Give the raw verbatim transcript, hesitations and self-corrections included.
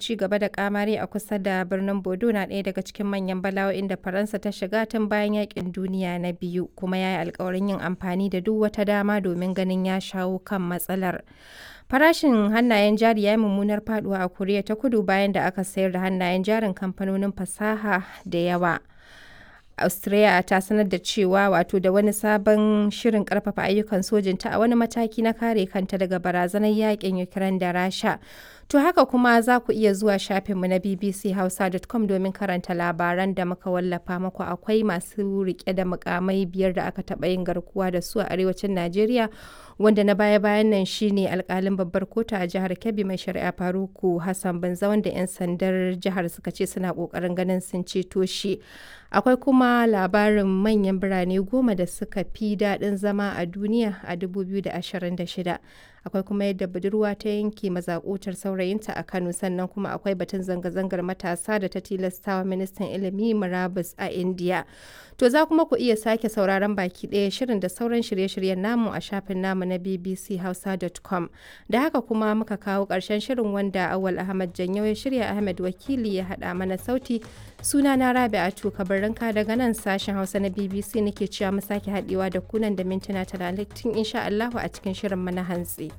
ci gaba da kamari a kusa da birnin Bodo na ɗaya daga cikin manyan bala'o'in da Faransa ta shiga tun bayan yakin duniya na biyu, kuma ya yi alkawarin yin amfani da duk wata dama domin ganin ya shawo kan matsalar. Farashin hannayen jari ya yi mummunar faduwa a Koriya ta Kudu bayan da aka sayar da hannayen jarin kamfanonin fasaha da yawa. Austria ta sanar da cewa wato da wani sabon shirin karfafa ayyukan sojinta a wani mataki na kare kanta daga barazanar yakin Ukraine da Rasha. To haka kuma za ku iya zuwa shafinmu na bbchausa dot com domin karanta labaran da muka wallafa muku. Akwai masu rike da mukamai biyar da aka taɓa yin garkuwa da su a arewacin Najeriya, wanda na baya-bayan nan shine alkalin babbar kotu a jihar Kebbi, Mai Shari'a Faruku Hassan Banza, wanda 'yan sandar jihar suka ce suna kokarin ganin sun ceto shi. Akwai kuma labarin manyan birane goma da suka fi daɗin zama a duniya a dubu biyu da ashirin da shida. Akwai kuma yadda budurwa ta yanke mazakutar saurayinta a Kano, sannan kuma akwai batun zanga-zangar matasa da ta tilastawa ministan ilimi murabus a India. To za kuma ku iya sake sauraron baki ɗaya shirin da sauran shirye-shiryen namu a shafin namu na bbchausa dot com. Da haka kuma muka kawo ƙarshen shirin, wanda Awal Ahmad Janyo ya shirya, Ahmed Wakili ya haɗa mana sauti. Suna na Rabi'atu Kabarinka daga nan sashen Hausa na B B C nake cewa mu sake haɗewa da kunan da mintuna talatin insha Allahu a cikin shirin mana hantsi.